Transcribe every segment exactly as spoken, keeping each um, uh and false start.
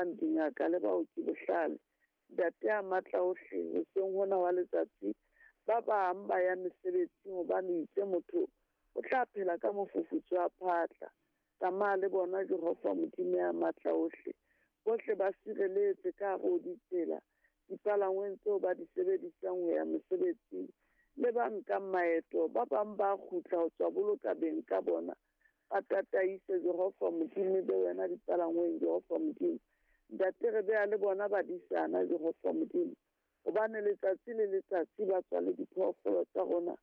fang dingaka le baoki bohlale. Ntate ya matla ohle, hoseng hona wa letsatsi, ba bang ba ya mesebetsing hobane itse motho o tla phela ka mofufutso wa phatla. Tsamaya le bona Jehova Modimo ya matla ohle. Bohle ba sireletse ka hare ho ditsela, dipalangweng tseo ba di sebedisang ho ya mesebetsing, le ba nkang maeto, ba bang ba kgutla ho tswa boloka beng ka bona. Ba tataise Jehova Modimo be wena dipalangweng Jehova Modimo. Ntate re beha le bona badisana Jehova Modimo, hobane letsatsi le letsatsi ba tswa le diphoofolo tsa rona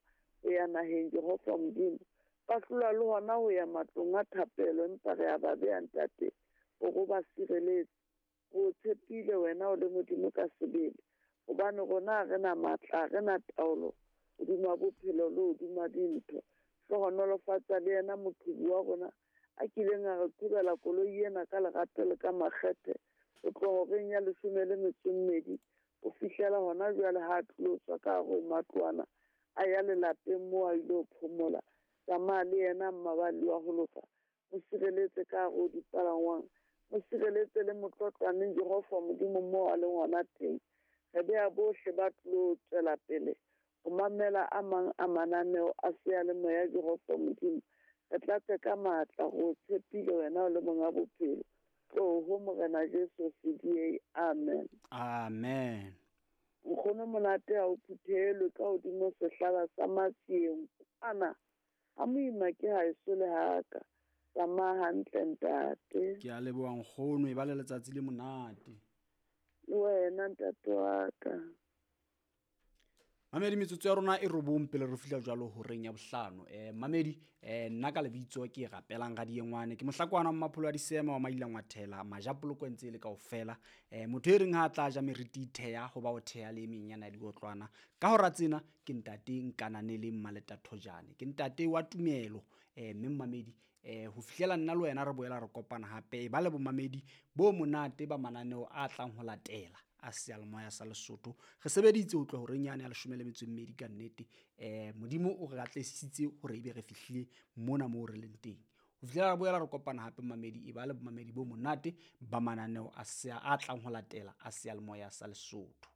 ho ya naheng Jehova Modimo. Ba hlolwa le hona ho ya matlong a thapelo, empa re a ba beha ntate hore o ba sireletse. Re o tshepile wena o le Modimo ka sebele, hobane rona ha re na matla, ha re na taolo hodima bophelo le hodima dintho. Hlohonolofatsa le yena moqhubi wa rona a kileng a re qhobela koloi ena ka lerato le ka makgethe ho tloha horeng ya leshome le metso e mmedi ho fihlela hona jwale ha a tlilo tswa ka hare ho matlwana a ya lelapeng moo a ilo phomola. Tsamaya le yena mmaballi wa ho loka, mo sireletse ka hare ho dipalangwang, mo sireletse le motlotlwaneng Jehova Modimo moo a leng hona teng. Re beha bohle ba tlilo tswela pele ho mamela a mang a mananeo a seyalemoya Jehova Modimo. Re tlatse ka matla, re o tshepile wena o le monga bophelo. Tloho Morena Jesu C D A, amen. Amen. Nkgono monate ha o phuthelwe ka hodimo sehlaba sa matsieng kwana. Ha moima ke haeso le haka. Tsamaya hantle ntate. Ke a leboha nkgono, e ba le letsatsi le monate. Le wena ntate wa ka. Mamedi, metsotso ya rona e robong pele re fihla jwalo horeng ya bohlano. Eh mamedi, eh nna ka lebitso ke Rapelang Radiengwane, ke mohlakwana wa Mmapholo wa Disema wa Mailangwathela, majapoloko ntse le kaofela. Eh motho e reng ha tla ja meriti theya ho ba o theya le emeng yana diotlwana. Ka hora tsena ke ntate Nkananele Mmaleta Thojane, ke ntate wa tumelo. Eh mme mamedi, eh ho fihlela nna le wena re boela re kopana hape, e ba le bomamedi bo monate ba mananeo a tlang ho latela a seyalemoya sa Lesotho. Re sebeditse ho tloha horeng yane ya leshome le metso e mmedi ka nnete. Eh Modimo o re atlehisitse hore ebe re fihlile mona moo re leng teng. Ho fihlela re boela re kopana hape mamedi, e ba le bomamedi bo monate ba mananeo a a tlang ho latela a seyalemoya sa Lesotho.